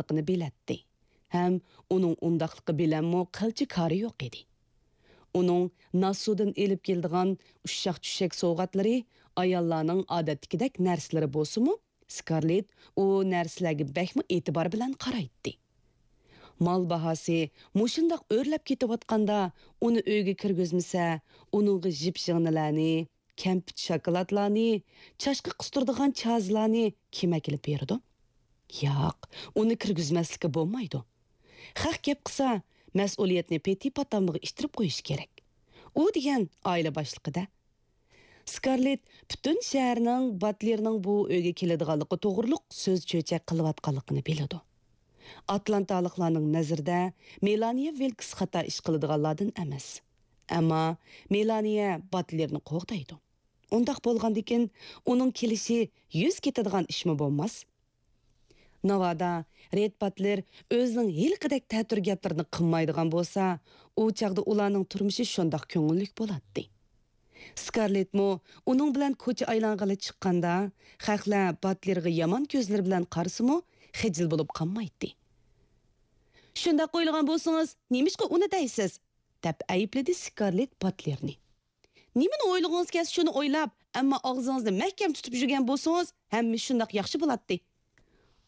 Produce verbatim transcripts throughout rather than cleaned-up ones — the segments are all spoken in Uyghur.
بولىدىغانلىقىنى بىلەتتى ھەم ئۇنىڭ ئۇنداقلىقى بىلەنمۇ قىلچە كارى يوق ئىدى. ئۇنىڭ ناسۇدىن ئېلىپ كېلىدىغان ئۇششاق-چۈششەك سوۋغاتلىرى ئاياللارنىڭ ئادەتتىكىدەك نەرسىلىرى بولسىمۇ، سكارلېت ئۇ نەرسىلەرگە بەكمۇ ئېتىبار بىلەن قارايتتى. مال باھاسى مۇشۇنداق ئۆرلەپ كېتىۋاتقاندا، ئۇنى ئۆيگە كىرگۈزمىسە، ئۇنىڭغا ژىپ-ژىڭنىلەرنى، كەمپۈت-شاكىلاتلارنى، چاشقا قىستۇرىدىغان چازىلارنى كىم ئەكېلىپ بېرىدۇ؟ ياق، ئۇنى كىرگۈزمەسلىككە بولمايدۇ. خەق گەپ قىلسا، مەسئۇلىيەتنى پېتى-پاتامىغا ئىتتىرىپ قويۇش كېرەك. ئۇ دېگەن ئائىلە باشلىقى-دە. سكارلېت پۈتۈن شەھەرنىڭ باتلېرنىڭ بۇ ئۆيگە كېلىدىغانلىقى توغرۇلۇق سۆز-چۆچەك قىلىۋاتقانلىقىنى بىلىدۇ. ئاتلانتالىقلارنىڭ نەزىرىدە مېلانىيە ۋىلكس خاتا ئىش قىلىدىغانلاردىن ئەمەس. ئەمما مېلانىيە باتلېرنى قوغدايدۇ. ئۇنداق بولغاندىكىن، ئۇنىڭ كېلىشى يۈز كېتىدىغان ئىشمۇ بولماس. ناۋادا رېد باتلېر ئۆزىنىڭ ھېلىقىدەك تەتۈر گەپلىرىنى قىلمايدىغان بولسا، ئۇ چاغدا ئۇلارنىڭ تۇرمۇشى شۇنداق كۆڭۈللۈك بولاتتى. سكارلېتمۇ ئۇنىڭ بىلەن كوچا ئايلانغىلى چىققاندا، خەقلەر باتلېرغا يامان كۆزلىرى بىلەن قارىسىمۇ، خىجىل بولۇپ قالمايتتى. «شۇنداق ئويلىغان بولسىڭىز، نېمىشقا ئۇنى دەيسىز؟» دەپ ئەيىبلىدى سكارلېت باتلېرنى. «نېمىنى ئويلىغىڭىز كەلسە، شۇنى ئويلاپ، ئەمما ئاغزىڭىزنى مەھكەم تۇتۇپ يۈرگەن بولسىڭىز، ھەممە شۇنداق ياخشى بولاتتى.»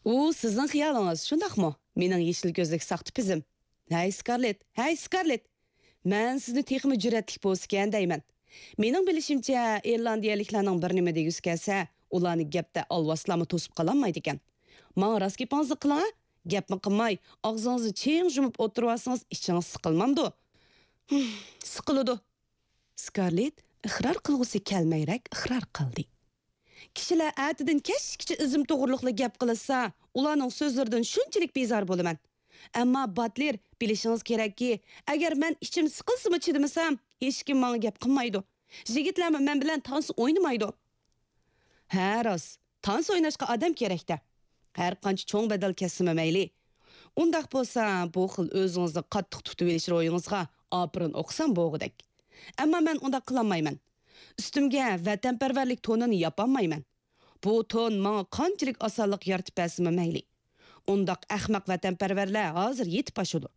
«ئۇ سىزنىڭ خىيالىڭىز، شۇنداقمۇ؟ مېنىڭ يېشىل كۆزلۈك ساختا پىزىم.» «ھەي، سكارلېت! ھەي، سكارلېت! مەن سىزنى تېخىمۇ جۈرئەتلىك بولسىكەن دەيمەن. مېنىڭ بىلىشىمچە، ئىرلاندىيەلىكلەرنىڭ بىر نېمە دېگۈسى كەلسە، ئۇلارنى گەپتە ئالۋاستىلارمۇ توسۇپ قالالمايدىكەن. ماڭا راست گېپىڭىزنى قىلىڭ، ھە؟ گەپمۇ قىلماي، ئاغزىڭىزنى چىڭ يۇمۇپ ئولتۇرۇۋالسىڭىز، ئىچىڭىز سىقىلمامدۇ؟» «ھىم، سىقىلىدۇ.» سكارلېت ئىقرار قىلغۇسى كەلمەيرەك ئىقرار قىلدى. «كىشىلەر ئەتىدىن كەچكىچە ئىزىم توغرۇلۇقلا گەپ قىلىشسا، ئۇلارنىڭ سۆزلىرىدىن شۇنچىلىك بىزار بولىمەن. ئەمما باتلېر، بىلىشىڭىز كېرەككى، ئەگەر مەن ئىچىم سىقىلسىمۇ چىدىمىسام، ھېچكىم ماڭا گەپ قىلمايدۇ. يىگىتلەرمۇ مەن بىلەن تانسا ئوينىمايدۇ.» «ھە، راست، تانسا ئويناشقا ئادەم كېرەك-دە. ھەر قانچە چوڭ بەدەل كەتسىمۇ مەيلى. ئۇنداق بولسا، بۇ خىل ئۆزىڭىزنى قاتتىق تۇتۇۋېلىش روھىڭىزغا ئاپىرىن ئوقۇسام بولغۇدەك. ئەمما مەن ئۇنداق قىلالمايمەن. ئۈستۈمگە ۋەتەنپەرۋەرلىك تونىنى ياپالمايمەن. بۇ تون ماڭا قانچىلىك ئاسانلىق يارىتىپ بەرسىمۇ مەيلى. ئۇنداق ئەخمەق ۋەتەنپەرۋەرلەر ھازىر يېتىپ ئاشىدۇ.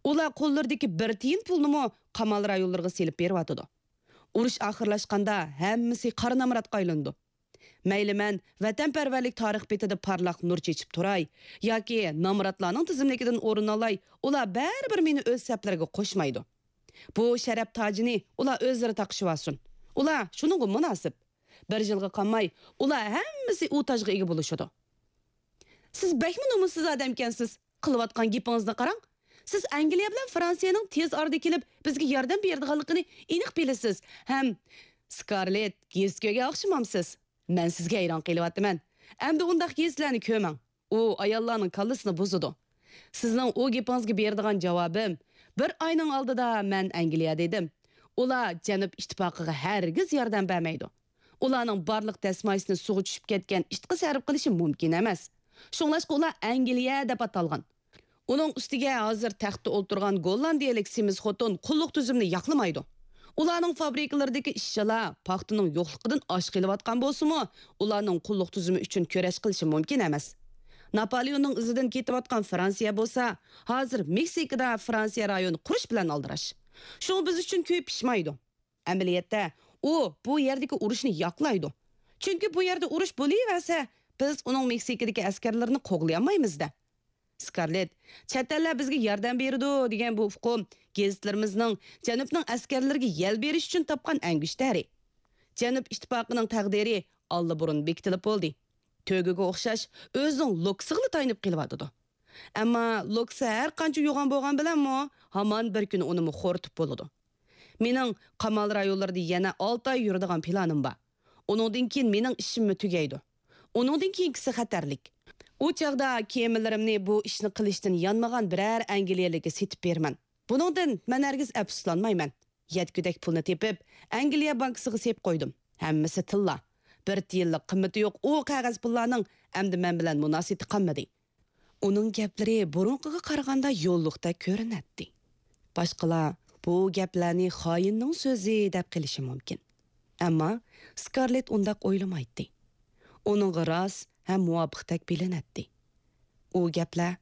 ئۇلار قوللىرىدىكى بىر تىيىن پۇلنىمۇ قامال رايونلىرىغا سېلىپ بېرىۋاتىدۇ. ئۇرۇش ئاخىرلاشقاندا ھەممىسى قارا نامراتقا ئايلىنىدۇ. مەيلى مەن ۋەتەنپەرۋەرلىك تارىخ بېتىدە پارلاق نۇر چېچىپ تۇراي ياكى نامراتلارنىڭ تىزىملىكىدىن ئورۇن ئالاي، ئۇلار بەرىبىر مېنى ئۆز سەپلىرىگە قوشمايدۇ. بۇ شەرەپ تاجىنى ئۇلار ئۆزلىرى تاقىشىۋالسۇن. ئۇلار شۇنىڭغا مۇناسىپ. بىر يىلغا قالماي، ئۇلار ھەممىسى ئۇ تاجغا ئىگە بولۇشىدۇ.» «سىز بەكمۇ نومۇسسىز ئادەمكەنسىز. قىلىۋاتقان گېپىڭىزنى قاراڭ. سىز ئەنگلىيە بىلەن فرانسىيەنىڭ تېز ئارىدا كېلىپ، بىزگە ياردەم بېرىدىغانلىقىنى ئېنىق بىلىسىز ھەم...» «سكارلېت، گېزىت كۆرگەن ئوخشىمامسىز؟ مەن سىزگە ھەيران قېلىۋاتىمەن. ئەمدى ئۇنداق گېزىتلەرنى كۆرمەڭ. ئۇ ئاياللارنىڭ كاللىسىنى بۇزىدۇ. سىزنىڭ ئۇ گېپىڭىزگە بېرىدىغان جاۋابىم، بىر ئاينىڭ ئالدىدا مەن ئەنگلىيەدە ئىدىم. ئۇلار جەنۇب ئىتتىپاقىغا ھەرگىز ياردەم بەرمەيدۇ. ئۇلارنىڭ بارلىق دەسمايىسىنى سۇغا چۈشۈپ كەتكەن ئىتقا سەرپ قىلىشى مۇمكىن ئەمەس. شۇڭلاشقا ئۇلار ئەنگلىيە دەپ ئاتالغان. ئۇنىڭ ئۈستىگە ھازىر تەختتە ئولتۇرغان گوللاندىيەلىك سېمىز خوتۇن قۇللۇق تۈزۈمنى ياقلىمايدۇ. ئۇلارنىڭ فابرىكىلىرىدىكى ئىشچىلار پاختىنىڭ يوقلۇقىدىن ئاچ قېلىۋاتقان بولسىمۇ، ئۇلارنىڭ قۇللۇق تۈزۈمى ئۈچۈن كۈرەش قىلىشى مۇمكىن ئەمەس. ناپالېئوننىڭ ئىزىدىن كېتىۋاتقان فرانسىيە بولسا، ھازىر مېكسىكىدا فرانسىيە رايونى قۇرۇش بىلەن ئالدىراش. شۇڭا بىز ئۈچۈن كۆيۈپ پىشمايدۇ. ئەمەلىيەتتە، ئۇ بۇ يەردىكى ئۇرۇشنى ياقلايدۇ. چۈنكى بۇ يەردە ئۇرۇش بولۇۋەرسە، بىز ئۇنىڭ مېكسىكىدىكى ئەسكەرلىرىنى قوغلىيالمايمىز-دە. سكارلېت، چەت ئەللەر بىزگە ياردەم بېرىدۇ دېگەن بۇ ئۇقۇم گېزىتلىرىمىزنىڭ جەنۇبنىڭ ئەسكەرلىرىگە يەل بېرىش ئۈچۈن تاپقان ئەڭگۈشتەرى. جەنۇب ئىتتىپاقىنىڭ تەقدىرى ئاللىبۇرۇن بېكىتىلىپ بولدى. تۆگىگە ئوخشاش ئۆزىنىڭ لوكسىغىلا تايىنىپ قېلىۋاتىدۇ. ئەمما لوكسا ھەر قانچە يوغان بولغان بىلەنمۇ، ھامان بىر كۈنى ئۇنىمۇ خورىتىپ بولىدۇ. مېنىڭ قامال رايونلىرىدا يەنە ئالتە ئاي يۈرىدىغان پىلانىم بار. ئۇنىڭدىن كېيىن مېنىڭ ئىشىممۇ تۈگەيدۇ. ئۇنىڭدىن كېيىنكىسى خەتەرلىك. ئۇ چاغدا كېمىلىرىمنى بۇ ئىشنى قىلىشتىن يانمىغان بىرەر ئەنگلىيەلىككە سېتىپ بېرىمەن. بۇنىڭدىن مەن ھەرگىز ئەپسۇسلانمايمەن. يەتكۈدەك پۇلنى تېپىپ، ئەنگلىيە بانكىسىغا سېلىپ قويدۇم. ھەممىسى تىللا. بىر تىيىنلىق قىممىتى يوق ئۇ قەغەز پۇللارنىڭ ئەمدى مەن بىلەن مۇناسىۋىتى قالمىدى. ئۇنىڭ گەپلىرى بۇرۇنقىغا قارىغاندا يوللۇقتەك كۆرۈنەتتى. باشقىلار بۇ گەپلەرنى خائىننىڭ سۆزى دەپ قېلىشى مۇمكىن. ئەمما سكارلېت ئۇنداق ئويلىمايتتى. ئۇنىڭغا راست ھەم مۇۋاپىقتەك بىلىنەتتى. ئۇ گەپلەر